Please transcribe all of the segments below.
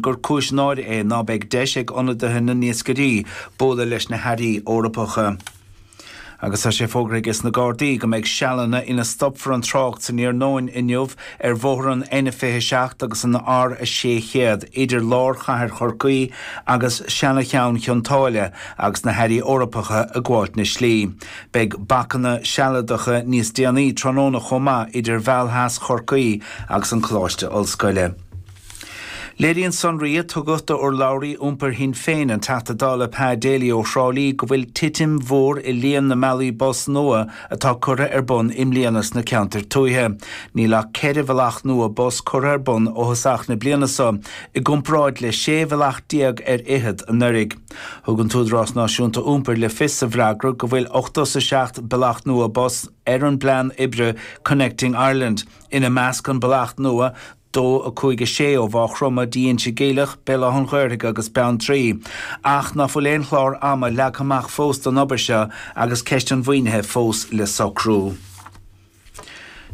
Gur cúis náire é ná beidh deis ag ionadaithe na n-iascairí bualadh leis na hairí Eorpacha. Agus tá sé fógraithe ages na Gardaí go mbeidh sealanna ina stopfar an trácht san iarnóin inniu ar bhóthar an N27 agus an R600 idir lár chathair Chorcaí agus seana-cheann Chionn tSáile agus na hairí Eorpacha ag gabháilt na slí. Beidh bacanna sealadacha níos déanaí tráthnóna chomh maith idir Mheall Theas Chorcaí agus an Coláiste Ollscoile. Léiríonn sonraí a tugadh d'urlabhraí iompair Shinn Féin, an Teachta Dála Pa Daly ó Thrá Lí, go bhfuil titim mhór i líon na mbealaí bus nua atá curtha ar bun i mbliana sna ceantair tuaithe. Níl ach 4 bhealach nua bus curtha ar bun ó thosach na bliana seo, i gcomparáid le 16 bhealach ar fhichead anuraidh. Thug an tÚdarás Náisiúnta Iompair le fios sa bhfreagra go bhfuil 87 bealach nua bus ar an bplean oibre Connecting Ireland, ina measc an bealach nua 2, 5, 6 ó Mhaigh Chromtha dtí Inse Geimhleach, Béal Átha an Ghaorthaidh agus Beanntraí. Ach ná fuil aon chlár ama leagtha amach fós don obair seo agus ceist an mhaoinithe fós le socrú.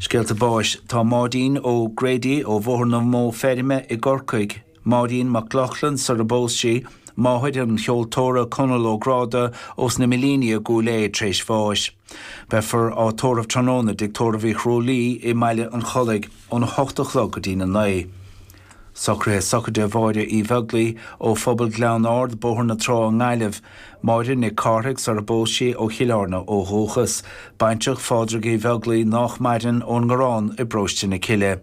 Scéalta báis Tá Máirín Ó Grady ó Bhóthar na Mó Feirme i gCorcaigh, Máirín Mac Lochlainn sar a bpós sí, máthair an cheoltóra Conall Ó Gráda ós na Millíní i gCúil Aodha tar éis bháis. Beifear á tórramh tráthnóna i dTigh Tórraimh Uí Chrualaoi i mBaile an Chollaigh óna hocht a chlog go dtína naoi. Socruithe Sochraide Mháire Uí Bheaglaoi ó Phobal Ghleann Ard, Bóthar na Trá i nGaillimh. Máire Nic Cárthaigh sar a bpós sí ó Chill Airne ó dhúchas. Baintreach Phádraig Uí Bheaglaoi nách maireann ón nGarrán i bParóiste na Cille.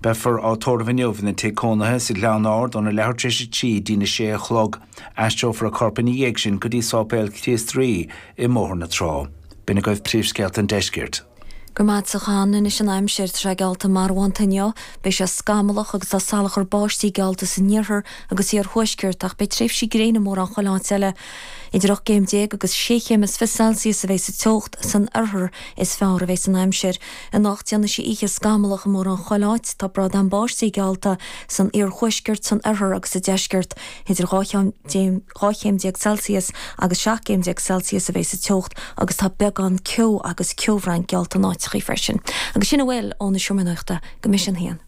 Beifear á tórramh inniu ina tigh cónaithe sa Ghleann Ard óna leathuair tar éis a trí dtína sé a chlog. Aistreofar a corp ina dhiaidh sin go dtí Sáipéal Chríost Rí i mBóthar na Trá. B'in agaibh príomhscéalta an deiscirt. Go raibh maith agat a Sheáin. Anois an aimsir. Tá sé geallta marbhánta inniu. Beidh sé scamallach agus tá salachar báistí geallta san iarthar agus iarthuaisceart ach beidh tréimhsí gréine mórán chuile áit eile. Idir 18 gcéim agus sé chéim is 20 Celsius a bheidh sa teocht san oirthear is fearr a bheidh an aimsir. Anocht déanfaidh sé oíche scamallach i mórán chuile áit. Tá brádán báistí geallta san iarthuaisceart, san oirthear agus sa deisceart. Idir 12 chéim 12 chéim Celsius agus 17 gcéim Celsius a bheidh sa teocht agus tá beagán ceo agus ceobhráin geallta in áiteachaí freisin. Agus sin a bhfuil ón Seomra Nuachta go mbeidh sé an haon.